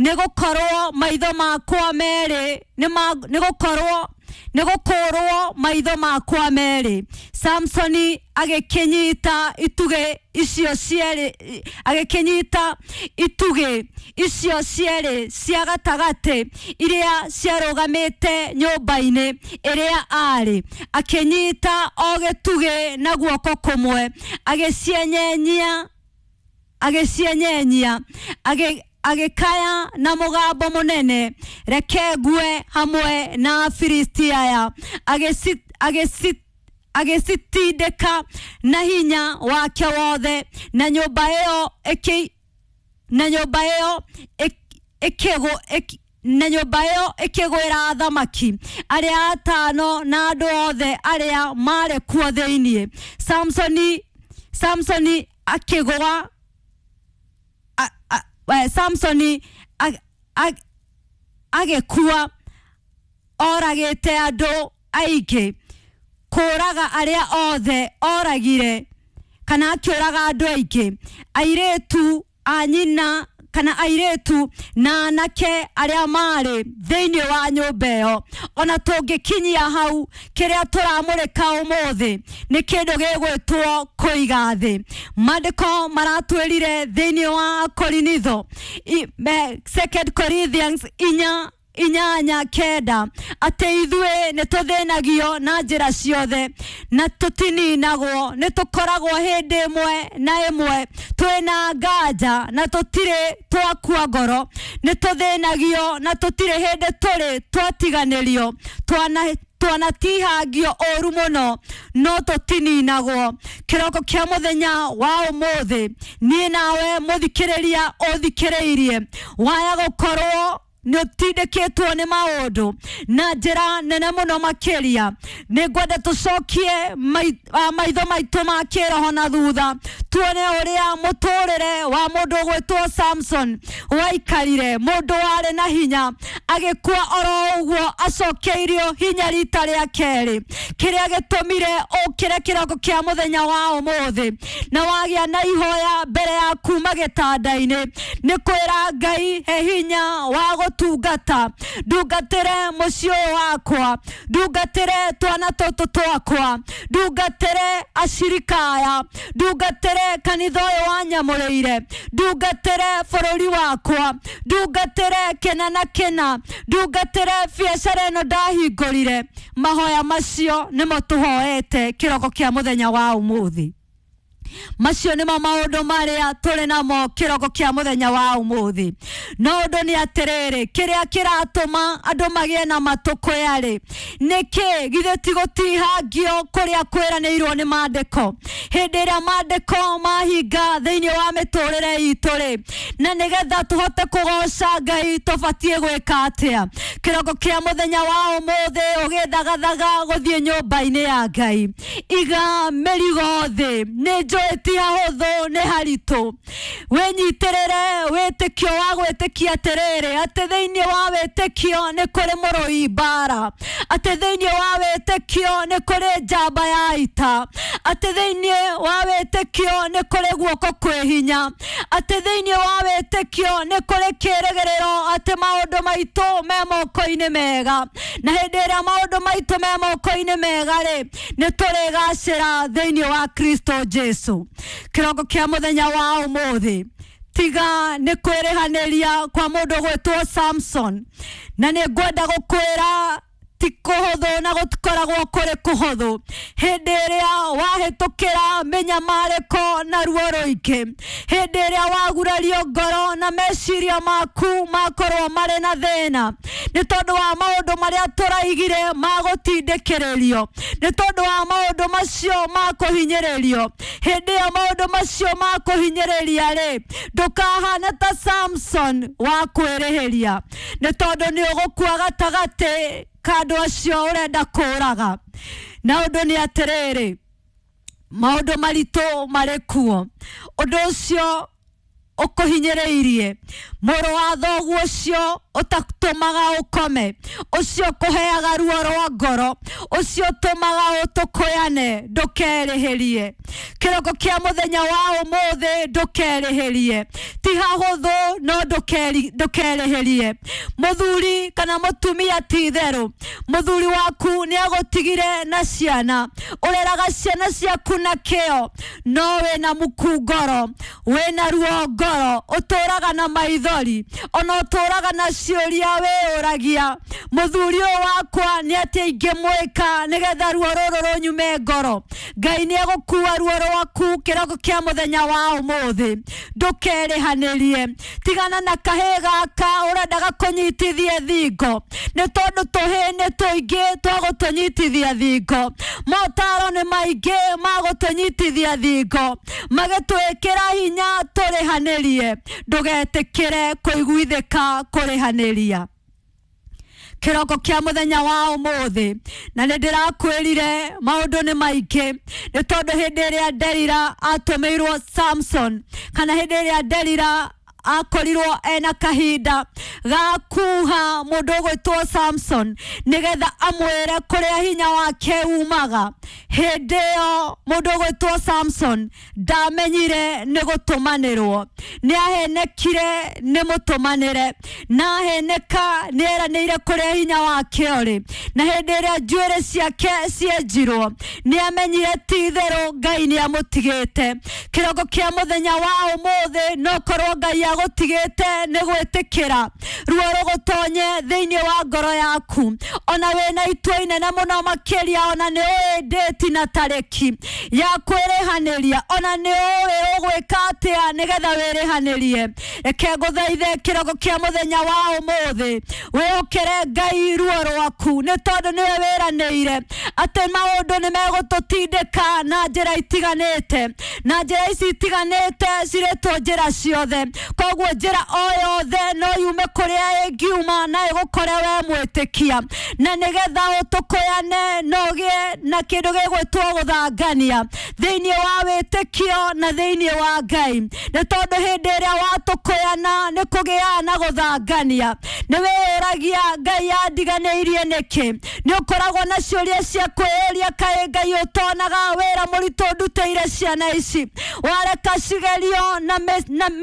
Nĩ gũkorwo maitho makwa merĩ nĩ gũkorwo nĩ gũkũrwo maitho makwa merĩ. Samsoni agĩkĩnyita itugĩ icio cierĩ, agĩkĩnyita itugĩ icio cierĩ cia gatagatĩ iria ciarũgamĩte nyũmba-inĩ ĩrĩa arĩ, akĩnyita o gĩtugĩ na guoko kũmwe, agĩcienyenyia, agĩcienyenyia, agĩkaya na mũgambo mũnene, "Reke ngue hamwe na Afilisti aya." Agĩcitindĩka na hinya wake wothe, na nyũmba ĩyo ĩkĩ na nyũmba ĩyo ĩkĩgũ na nyũmba ĩyo ĩkĩgwĩra athamaki arĩa atano na andũ othe arĩa marĩ kuo thĩinĩ. Samsoni akĩgũa, Samsoni agĩkua oragĩte andũ aingĩ, kũraga arĩa othe oragire, kana akĩũraga andũ aingĩ, airĩtu a nyina kana airĩtu na anake arĩa marĩ thĩinĩ wa nyũmba ĩyo. Ona tũngĩkinyia hau, kĩrĩa tũramũrĩka ũmũthĩ nĩ kĩndũ gĩgwĩtwo kũiga thĩ. Maandĩko maratwĩrire thĩinĩ wa Korinitho, Second Corinthians 8:8, atĩ ithuĩ nĩ tũthĩnagio na njĩra ciothe na tũtininagwo, nĩ tũkoragwo hĩndĩ ĩmwe na ĩmwe twĩna nganja na tũtirĩ twakua ngoro, nĩ tũthĩnagio na tũtirĩ hĩndĩ tũrĩ twatiganĩrio, twanatihangio ũru mũno no tũtininagwo. Kĩroko kĩa mũthenya wa ũmũthĩ, niĩ nawe mũthikĩrĩria ũthikĩrĩirie, waya gũkorwo nĩ ũtindĩkĩtwo nĩ maũndũ na njĩra nene mũno makĩria, nĩ ngwenda tũcokie maitho maitũ ma kĩroho na thutha, tuone ũrĩa mũtũrĩre wa mũndũ ũgwĩtwo Samson waikarire. Mũndũ warĩ na hinya agĩkua oro ũguo acokeirio hinya rita rĩa kerĩ. Kĩrĩa gĩtũmire ũkĩre kĩroko kĩa mũthenya wa ũmũthĩ na wagĩa na ihoya mbere ya kuma gĩtanda-inĩ nĩ kwĩra Ngai, "He hinya wa gũtungata, ndungatĩre mũciĩ ũyũ wakwa, ndungatĩre twana tũtũ twakwa, ndungatĩre acirika aya, ndungatĩre kanitha ũyũ wanyamũrĩire, ndungatĩre bũrũri wakwa, ndungatĩre kĩna na kĩna, ndungatĩre biacara ĩno ndahingũrire." Mahoya macio nĩmo tũhoete kĩroko kĩa mũthenya wa ũmũthĩ. Macio nĩmo maũndũ marĩa tũrĩ namo kĩroko kĩa mũthenya wa ũmũthĩ. No ũndũ nĩ atĩrĩrĩ, kĩrĩa kĩratũma andũ magĩe na matũkũya rĩ, nĩkĩ? Githĩ ti gũtihangio kũrĩa kwĩranĩirwo nĩ maandĩko? Hĩndĩ ĩrĩa maandĩko mahinga thĩinĩ wa mĩtũrĩre itũ rĩ, na nĩgetha tũhote kũgoca Ngai, tũbatiĩ gwĩka atĩa? Kĩroko kĩa mũthenya wa ũmũthĩ, ũgĩthagathaga gũthiĩ nyũmba-inĩ ya Ngai, iga mĩrigo thĩ. Nĩ njũĩ ti hahũthũ, nĩ haritũ. Wĩnyitĩrĩre wĩtĩkio wa gwĩtĩkia atĩrĩrĩ, atĩ thĩinĩ wa wĩtĩkio nĩ kũrĩ mũrũi mbara, atĩ thĩinĩ wa wĩtĩkio nĩ kũrĩ njamba ya ita, atĩ thĩinĩ wa wĩtĩkio nĩ kũrĩ guoko kwĩ hinya, atĩ thĩinĩ wa wĩtĩkio nĩ kũrĩ kĩrĩgĩrĩro atĩ maũndũ maitũ me moko-inĩ mega. Na hĩndĩ ĩrĩa maũndũ maitũ me moko-inĩ mega rĩ, nĩ tũrĩgacĩra thĩinĩ wa Kristo Jesu. Kĩroko kĩa mũthenya wa ũmũthĩ, tiga nĩ kwĩrĩhanĩria kwa mũndũ gwĩtwo Samson. Na nĩ ngwenda gũkwĩra ti kũhũthũ na gũtikoragwo kũrĩ kũhũthũ hĩndĩ ĩrĩa wahĩtũkĩra mĩnyamarĩko na ruo rũingĩ, hĩndĩ ĩrĩa wagurario ngoro na meciria maku makorwo marĩ na thĩna nĩ tondũ wa maũndũ marĩa tũraigire ma gũtindĩkĩrĩrio, nĩ tondũ wa maũndũ macio ma kũhinyĩrĩrio. Hĩndĩ ĩyo maũndũ macio ma kũhinyĩrĩria rĩ, ndũkahane ta Samson wa kwĩrĩhĩria, nĩ tondũ nĩ ũgũkua gatagatĩ ka andũ acio ũrenda kũraga. Na ũndũ nĩ atĩrĩrĩ, maũndũ maritũ marĩ kuo. Ũndũ ũcio ũkũhinyĩrĩirie, mũrũ wa thoguo ũcio ũtatũmaga ũkome, ũcio ũkũheaga ruo rwa ngoro, ũcio ũtũmaga ũtũkũyane, ndũkerĩhĩrie. Kĩroko kĩa mũthenya wa ũmũthĩ ndũkerĩhĩrie. Ti hahũthũ no ndũkerĩhĩrie. Mũthuri kana mũtumia ti itherũ, mũthuri waku nĩ agũtigire na ciana, ũreraga ciana ciaku na kĩo, no wĩna muku ngoro, wĩna ruo ngoro, ũtũraga na maithori, ona ũtũraga na ciũria wĩyũragia, mũthuri ũyũ wakwa nĩ atĩa ingĩmwĩka nĩgetha ruo rũrũ rũnyume ngoro. Ngai nĩ egũkua ruo rwaku kĩroko kĩa mũthenya wa ũmũthĩ. Ndũkerĩhanĩrie. Tigana na kahĩĩ gaka ũrendaga kũnyitithie thingo, nĩ tondũ tũhĩĩ nĩ tũingĩ twa gũtũnyitithia thingo, motaro nĩ maingĩ ma gũtũnyitithia thingo, magĩtwĩkĩra hinya tũrĩhanĩrie. Ndũgetĩkĩre kũiguithĩka kũrĩhanĩria. Kĩroko kĩa mũthenya wa ũmũthĩ, na nĩ ndĩrakwĩrire maũndũ nĩ maingĩ, nĩ tondũ hĩndĩ ĩrĩa Delila atũmĩirwo Samson, kana hĩndĩ ĩrĩa Delila akorirwo ena kahinda ga kuha mũndũ ũgwĩtwo Samson nĩgetha amwĩre kũrĩa hinya wake umaga, hĩndĩ ĩyo mũndũ ũgwĩtwo Samson ndamenyire nĩ gũtũmanĩrwo, nĩ ahenekire nĩ mũtũmanĩre, na aheneka nĩ eranĩire kũrĩa hinya wake ũrĩ, na hĩndĩ ĩrĩa njuĩrĩ ciake cienjirwo nĩ amenyire ti itherũ Ngai nĩ amũtigĩte. Kĩroko kĩa mũthenya wa ũmũthĩ no korwo Ngai agũtigĩte nĩ gwĩtĩkĩra ruo rũgũtonye thĩinĩ wa ngoro yaku, ona wĩna itua inene mũno makĩria, ona nĩ ũĩ ndĩti na tarĩki ya kwĩrĩhanĩria, ona nĩ ũĩ ũgwĩka atĩa nĩgetha wĩrĩhanĩrie. Reke ngũthaithe kĩroko kĩa mũthenya wa ũmũthĩ wĩhokere Ngai ruo rwaku, nĩ tondũ nĩwe wĩranĩire atĩ maũndũ nĩ megũtũtindĩka na njĩra itiganĩte, na njĩra ici itiganĩte cirĩtwo njĩra ciothe, koguo njĩra o yothe no yume kũrĩa ĩngiuma na ĩgũkore we mwĩtĩkia, na nĩgetha ũtũkũyane no ũgĩe na kĩndũ gĩgwĩtwo gũthangania thĩinĩ wa wĩtĩkio na thĩinĩ wa Ngai, nĩ tondũ hĩndĩ ĩrĩa watũkũyana nĩ kũgĩaga na gũthangania. Nĩ wĩyũragia Ngai andiganĩirie nĩkĩ? Nĩ ũkoragwo na ciũria cia kwĩyũria, kaĩ Ngai ũtonaga wĩra mũritũ ndutĩire ciana ici, wareka cigerio na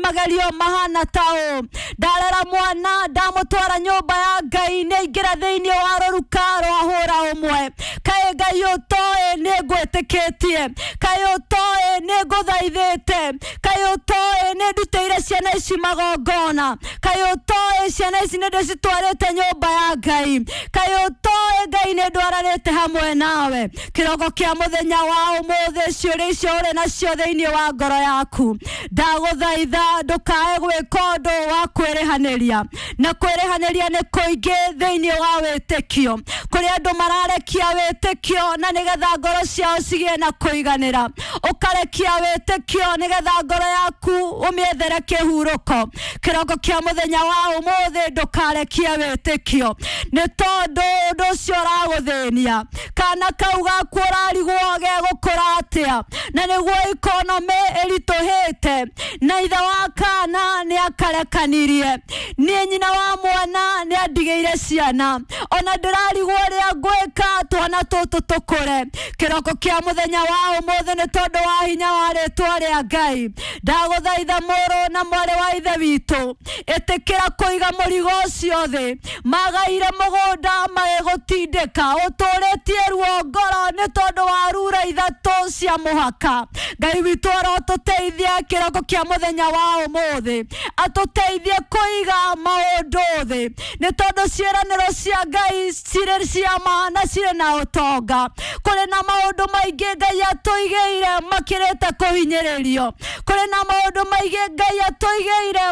magerio mahana ta ũũ, ndarera mwana ndamũtwara nyũmba ya Ngai nĩ aingĩra thĩinĩ wa rũruka rwa hũra ũmwe, kaĩ Ngai ũtoĩ nĩ ngwĩtĩkĩtie, kaĩ ũtoĩ nĩ ngũthaithĩte, kaĩ ũtoĩ nĩ ndutĩire ciana ici magongona, kaĩ ũtoĩ ciana ici nĩ ndĩcitwarĩte nyũmba ya Ngai, kaĩ ũtoĩ Ngai nĩ ndwaranĩte hamwe nawe. Kĩroko kĩa mũthenya wa ũmũthĩ ciũria icio ũrĩ nacio thĩinĩ wa ngoro yaku, ndagũthaitha ndũkae gwĩka ũndũ wa kwĩrĩhanĩria, na kwĩrĩhanĩria nĩ kũingĩ thĩinĩ wa wĩtĩkio. Kũrĩ andũ mararekia wĩtĩkio na nĩgetha ngoro ciao cigĩe na kũiganĩra, ũkarekia wĩtĩkio nĩgetha ngoro yaku ũmĩethere kĩhurũko. Kĩroko kĩa mũthenya wa ũmũthĩ ndũkarekie wĩtĩkio, nĩ tondũ ũndũ ũcio ũragũthĩnia, kana kau gaku ũrarigwo gegũkũra atĩa, na nĩguo ikonomĩ ĩritũhĩte, na ithe wa kana nĩ akarekanirie, niĩ nyina wa mwana nĩ andigĩire ciana, ona ndĩrarigwo ũrĩa ngwĩka twana tũtũ tũkũre. Kĩroko kĩa mũthenya wa ũmũthĩ nĩ tondũ wa hinya wa rĩtwa rĩa Ngai, ndagũthaitha mũrũ na mwarĩ wa ithe witũ, ĩtĩkĩra kũiga mũrigo ũcio thĩ. Magaire mũgũnda magĩgũtindĩka, ũtũrĩtie ruo ngoro nĩ tondũ wa rura ithatũ cia mũhaka. Ngai witũ arotũteithia kĩroko kĩa mũthenya wa ũmũthĩ, atũteithie kũiga maũndũ thĩ, nĩ tondũ ciĩranĩro cia Ngai cirĩ cia ma na cirĩ na ũtonga. Kũrĩ na maũndũ maingĩ Ngai atũigĩire makĩrĩte kũhinyĩrĩrio, kũrĩ na maũndũ maingĩ Ngai atũigĩire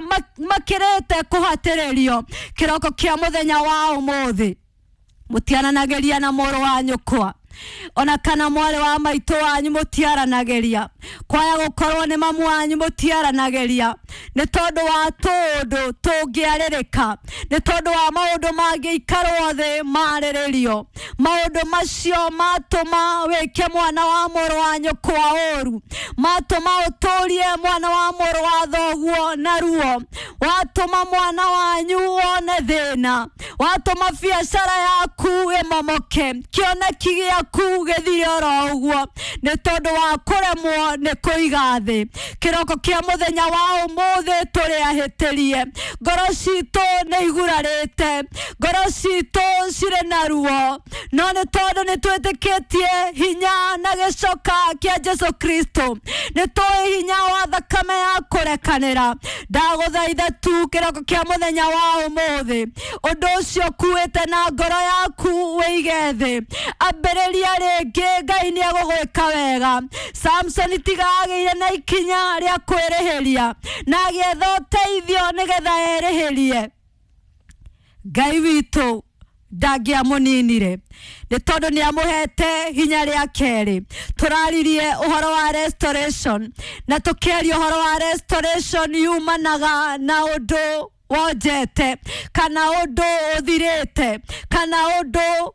makĩrĩte kũhatĩrĩrio. Kĩroko kĩa mũthenya wa ũmũthĩ mũtiananageria na mũrũ wa nyũkwa, Ona kana mwarĩ wa maitũ wanyu mũtiaranagĩria, kwaya gũkorwo nĩ mamu wanyu mũtiaranagĩria, nĩ tondũ wa tũũndũ tũngĩarĩrĩka, nĩ tondũ wa maũndũ mangĩikarwo thĩ marĩrĩrio. Maũndũ macio matũma wĩke mwana wa mũrũ wa nyũkwa ũru, matũma ũtũrie mwana wa mũrũ wa thoguo na ruo, watũma mwana wanyu wone thĩna, watũma biacara yaku ĩmomoke, kĩoneki gĩaku gĩthire oro ũguo, nĩ tondũ wa kũremwo nĩ kũiga thĩ. Kĩroko kĩa mũthenya wa ũmũthĩ tũrĩ ahĩtĩrie, ngoro citũ nĩ igurarĩte, ngoro citũ cirĩ na ruo, no nĩ tondũ nĩ twĩtĩkĩtie hinya na gĩcoka kĩa Jesu Kristo, nĩ tũĩ hinya wa thakame ya kũrekanĩra. Ndagũthaitha tu kĩroko kĩa mũthenya wa ũmũthĩ, ũndũ ũcio ũkuĩte na ngoro yaku wĩige thĩ, ambĩrĩria rĩngĩ, Ngai nĩ egũgwĩka wega. Samson tiga agĩire na ikinya rĩa kwĩrĩhĩria na agĩetha ũteithio nĩgetha erĩhĩrie, Ngai witũ ndangĩamũninire nĩ tondũ nĩ amũhete hinya rĩa kerĩ. Tũraririe ũhoro wa restoration na tũkĩaria ũhoro wa restoration yumanaga na ũndũ wonjete kana ũndũ ũthirĩte kana ũndũ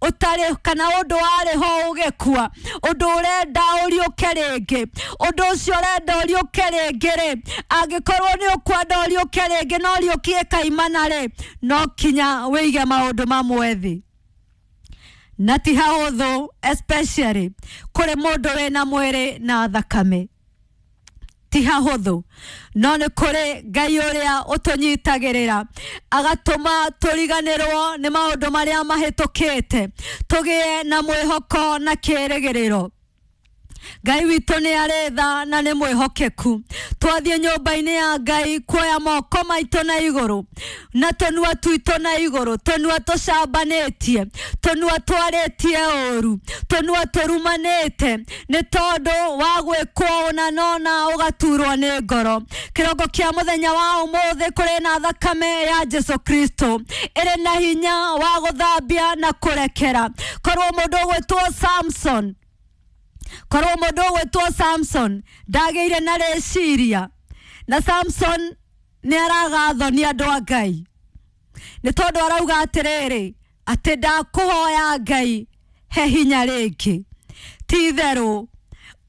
ũtarĩ kana ũndũ warĩ ho ũgĩkua, ũndũ ũrenda ũriũke rĩngĩ. Ũndũ ũcio ũrenda ũriũke rĩngĩ rĩ, angĩkorwo nĩ ũkwenda ũriũke rĩngĩ na ũriũkie kaimana rĩ, no kinya wĩige maũndũ mamwe thĩ. Na ti hahũthũ, especially kũrĩ mũndũ wĩna mwĩrĩ na thakame, ti hahũthũ, no nĩ kũrĩ Ngai ũrĩa ũtũnyitagĩrĩra agatũma tũriganĩrwo nĩ maũndũ marĩa mahĩtũkĩte, tũgĩe na mwĩhoko na kĩĩrĩgĩrĩro. Ngai witũ nĩ arĩ tha na nĩ mwĩhokeku. Twathiĩ nyũmba-inĩ ya Ngai kuoya moko maitũ na igũrũ na tũnua twitũ na igũrũ, tũnua tũcambanĩtie, tũnua twarĩtie ũru, tũnua tũrumanĩte nĩ tondũ wa gwĩkwo ũna nona ũgaturwo nĩ ngoro. Kĩroko kĩa mũthenya wa ũmũthĩ kũrĩ na thakame ya Jesu Kristo ĩrĩ na hinya wa gũthambia na kũrekera. Korwo mũndũ ũgwĩtwo Samson, korwo mũndũ ũgwĩtwo Samson ndagĩire na rĩciria, na Samson nĩ aragathwo nĩ andũ a Ngai nĩ tondũ arauga atĩrĩrĩ, atĩ ndakũhoya Ngai he hinya rĩngĩ. Ti itherũ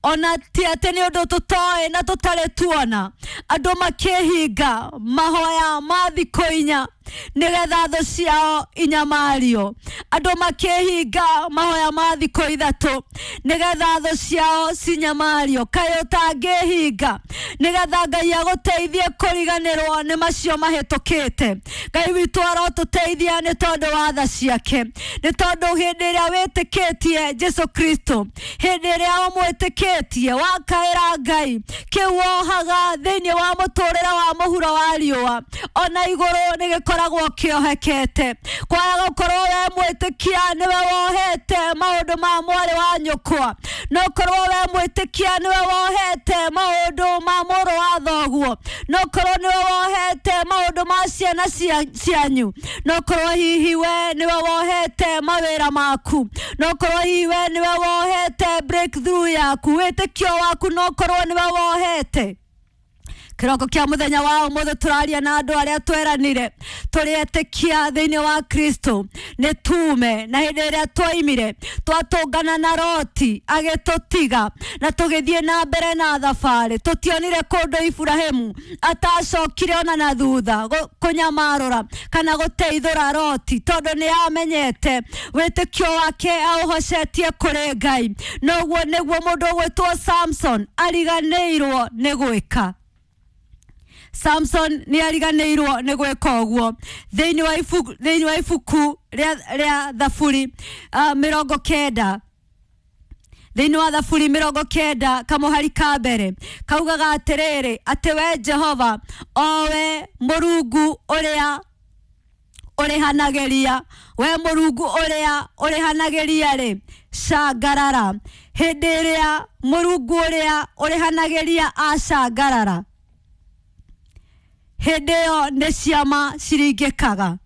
ona ti atĩ nĩ ũndũ tũtoĩ na tũtarĩ tuona andũ makĩhinga mahoya ma thikũ inya nĩgetha thũ ciao inyamario, andũ makĩhinga mahoya ma thikũ ithatũ nĩgetha thũ ciao cinyamario. Kaĩ ũtangĩhinga nĩgetha Ngai agũteithie kũriganĩrwo nĩ macio mahĩtũkĩte? Ngai witũ arotũteithia nĩ tondũ wa tha ciake, nĩ tondũ hĩndĩ ĩrĩa wĩtĩkĩtie Jesu Kristo, hĩndĩ ĩrĩa ũmwĩtĩkĩtie wakaĩra Ngai, kĩu wohaga thĩinĩ wa mũtũrĩre wa mũhuro wa riũa ona igũrũ nĩ gĩkoragwo kĩohekete. Kwaya gũkorwo we mwĩtĩkia nĩwe wohete maũndũ ma mwarĩ wa nyũkwa, no korwo we mwĩtĩkia nĩwe wohete maũndũ ma mũrũ wa thoguo, no korwo nĩwe wohete maũndũ ma ciana cianyu, no korwo hihi we nĩwe wohete mawĩra maku, no korwo hihi we nĩwe wohete breakthrough yaku, wĩtĩkio waku no korwo nĩwe wohete. Kĩroko kĩa mũthenya wa ũmũthĩ tũraria na andũ arĩa tweranire tũrĩ etĩkia thĩinĩ wa Kristo nĩ tume, na hĩndĩ ĩrĩa twaimire twatũngana na Loti agĩtũtiga na tũgĩthiĩ na mbere na thabarĩ. Tũtionire kũndũ Iburahĩmu atacokire ona na thutha kũnyamarũra kana gũteithũra Loti, tondũ nĩ amenyete wĩtĩkio wake aũhocetie kũrĩ Ngai. Noguo nĩguo mũndũ ũgwĩtwo Samson ariganĩirwo nĩ gwĩka. Samson nĩ ariganĩirwo nĩ gwĩka ũguo. Thĩinĩ wa ibuku rĩa Thaburi 90, thĩinĩ wa Thaburi 90 kamũhari ka mbere kaugaga atĩrĩrĩ, atĩ we Jehova, o we Mũrungu ũrĩa ũrĩhanagĩria, we Mũrungu ũrĩa ũrĩhanagĩria rĩ, cangarara. Hĩndĩ ĩrĩa Mũrungu ũrĩa ũrĩhanagĩria acangarara, hĩndĩ ĩyo nĩ ciama ciringĩkaga.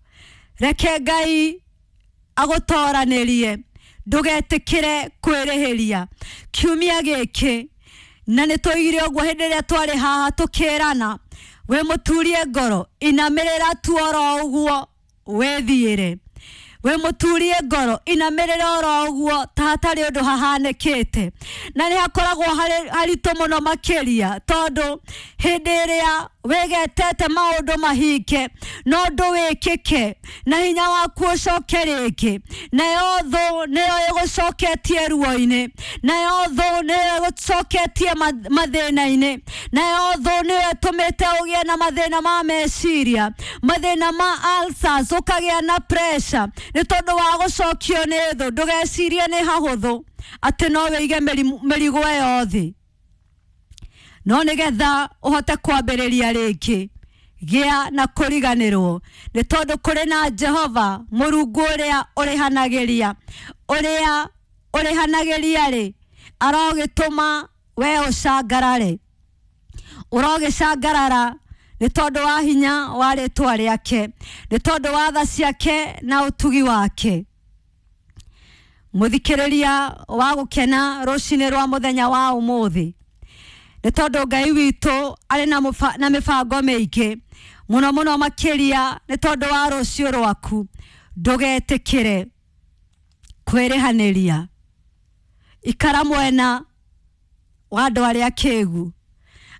Reke Ngai agũtoranĩrie, Ndũgetĩkĩre kwĩrĩhĩria kiumia gĩkĩ, na nĩ tũigire ũguo hĩndĩ ĩrĩa twarĩ haha tũkĩrana, wĩ mũturie ngoro, inamĩrĩra tu oro ũguo wĩthiĩre. Wĩ mũturie ngoro, inamĩrĩra oro ũguo ta hatarĩ ũndũ hahanĩkĩte. Na nĩ hakoragwo haritũ mũno makĩria, tondũ hĩndĩ ĩrĩa wĩgetete maũndũ mahinge no ũndũ wĩkĩke na hinya waku ũcoke rĩngĩ, nayo thũ nĩyo ĩgũcoketie ruo-inĩ, nayo thũ nĩyo ĩgũcoketie mathĩna-inĩ, nayo thũ nĩyo ĩtũmĩte ũgĩe na mathĩna ma meciria, mathĩna ma ulcers, ũkagĩa na pressure nĩ tondũ wa gũcokio nĩ thũ. Ndũgecirie nĩ hahũthũ atĩ no wĩige mĩrigo ĩyo thĩ, no nĩgetha ũhote kwambĩrĩria rĩngĩ, gĩa na kũriganĩrwo, nĩ tondũ kũrĩ na Jehova Mũrungu ũrĩa ũrĩhanagĩria, ũrĩa ũrĩhanagĩria rĩ, arogĩtũma we ũcangarare, ũrogĩcangarara nĩ tondũ wa hinya wa rĩtwa rĩake, nĩ tondũ wa tha ciake na ũtugi wake. Mũthikĩrĩria wa gũkena rũcinĩ rwa mũthenya wa ũmũthĩ, nĩ tondũ Ngai witũ arĩ na mĩbango mĩingĩ mũno mũno makĩria nĩ tondũ wa rũciũ rwaku. Ndũgetĩkĩre kwĩrĩhanĩria, ikara mwena wa andũ arĩa akĩgu,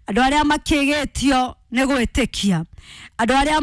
andũ arĩa makĩgĩtio nĩ gwĩtĩkia, andũ arĩa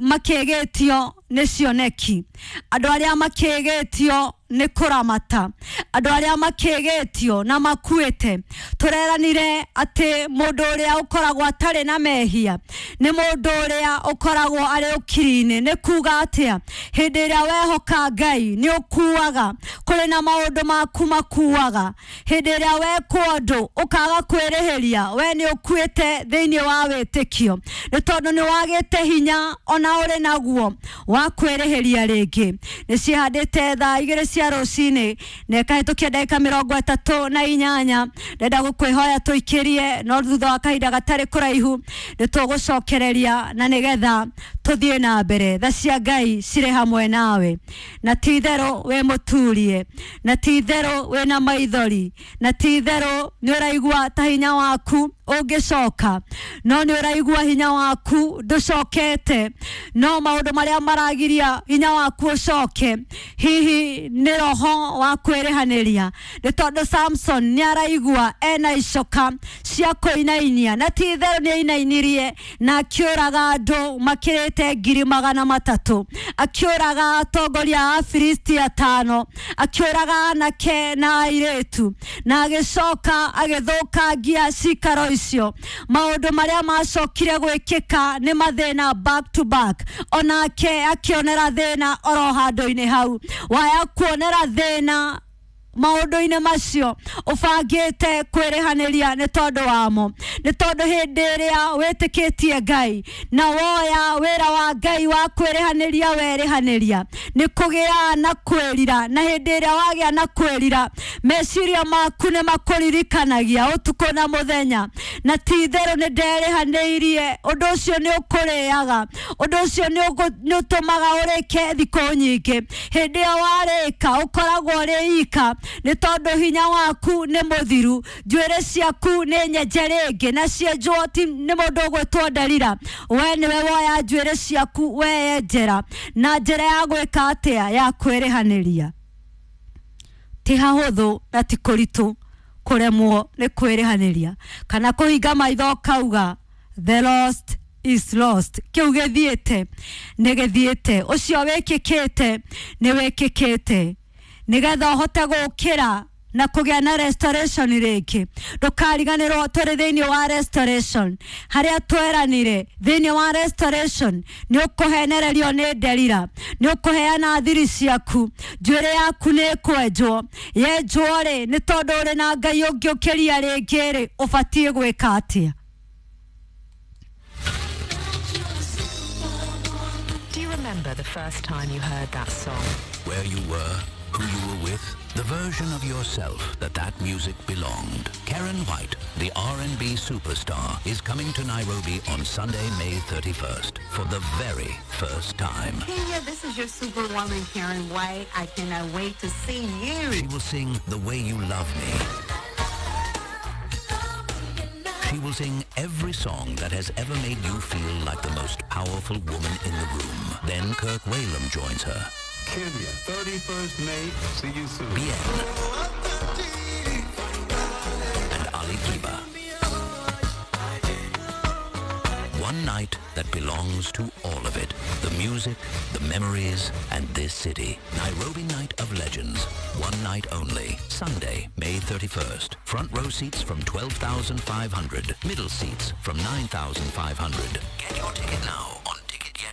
makĩgĩtio nĩ cioneki, andũ arĩa makĩgĩtio nĩ kũramata, andũ arĩa makĩgĩtio na makuĩte. Tũreranire atĩ mũndũ ũrĩa ũkoragwo atarĩ na mehia nĩ mũndũ ũrĩa ũkoragwo arĩ ũkiri-inĩ. Nĩ kuga atĩa? Hĩndĩ ĩrĩa wehoka Ngai nĩ ũkuaga, kũrĩ na maũndũ maku makuaga. Hĩndĩ ĩrĩa wekwo ũndũ ũkaga kwĩrĩhĩria, we nĩ ũkuĩte thĩinĩ wa wĩtĩkio, nĩ tondũ nĩ wagĩte hinya ona ũrĩ naguo wa kwĩrĩhĩria rĩngĩ. Nĩ cihandĩte thaa 2 cia rũcinĩ na ĩkahĩtũkia ndagĩka 38. Ndenda gũkwĩhoya tũikĩrie, no thutha wa kahinda gatarĩ kũraihu nĩ tũgũcokereria na nĩgetha tũthiĩ na mbere. Tha cia Ngai cirĩ hamwe nawe, na ti itherũ wĩ mũturie, na ti itherũ wĩna maithori, na ti itherũ nĩ ũraigua ta hinya waku ũngĩcoka, no nĩ ũraigua hinya waku ndũcokete, no maũndũ marĩa maragiria hinya waku ũcoke hihi nĩ roho wa kwĩrĩhanĩria. Nĩ tondũ Samson nĩ araigua ena icoka cia kũinainia, na ti itherũ nĩ ainainirie na akĩũraga andũ makĩrĩte 300,000, akĩũraga atongoria a Afilisti 5, akĩũraga anake na airĩtu, na agĩcoka agĩthũkangia cikaro icio. Maũndũ marĩa macokire gwĩkĩka nĩ mathĩna back to back, onake akĩonera thĩna oro handũ-inĩ hau. Waya kuonera thĩna maũndũ-inĩ macio ũbangĩte kwĩrĩhanĩria nĩ tondũ wamo, nĩ tondũ hĩndĩ ĩrĩa wĩtĩkĩtie Ngai na woya wĩra wa Ngai wa kwĩrĩhanĩria, werĩhanĩria nĩ kũgĩa na kwĩrira, na hĩndĩ ĩrĩa wagĩa na kwĩrira meciria maku nĩ makũririkanagia ũtukũ na mũthenya, na ti itherũ nĩ nderĩhanĩirie. Ũndũ ũcio nĩ ũkũrĩaga, ũndũ ũcio nĩ ũtũmaga ũrĩke thikũ nyingĩ. Hĩndĩ ĩyo warĩka ũkoragwo ũrĩ ika, nĩ tondũ hinya waku nĩ mũthiru, njuĩrĩ ciaku nĩ nyenje rĩngĩ, na cienjwo ti nĩ mũndũ ũgwĩtwo Nderira. We nĩwe woya njuĩrĩ ciaku weyenjera na njĩra ya gwĩka atĩa? Ya kwĩrĩhanĩria. Ti hahũthũ na ti kũritũ kũremwo nĩ kwĩrĩhanĩria kana kũhinga maitho ũkauga the lost is lost. Kĩu gĩthiĩte nĩ gĩthiĩte, ũcio wĩkĩkĩte nĩ wĩkĩkĩte, nĩgetha ũhote gũkĩra na kũgĩa na restoration rĩngĩ. Ndũkariganĩrwo tũrĩ thĩinĩ wa restoration, harĩa tweranire thĩinĩ wa restoration nĩ ũkũhenererio nĩ Nderira, nĩ ũkũheana thiri ciaku, njuĩrĩ yaku nĩ ĩkwenjwo, yenjwo rĩ nĩ tondũ ũrĩ na Ngai ũngĩũkĩria rĩngĩ rĩ, ũbatiĩ gwĩka atĩa? Do you remember the first time you heard that song? Where you were, who you were with, the version of yourself that music belonged. Karen White, the R&B superstar, is coming to Nairobi on Sunday, May 31st for the very first time. Kenya, this is your superwoman, Karen White. I cannot wait to see you. She will sing The Way You Love Me. She will sing every song that has ever made you feel like the most powerful woman in the room. Then Kirk Whalum joins her. Kenya, 31st May. See you soon. Bien. And Ali Kiba. One night that belongs to all of it. The music, the memories, and this city. Nairobi Night of Legends. One night only. Sunday, May 31st. Front row seats from 12,500. Middle seats from 9,500. Get your ticket now.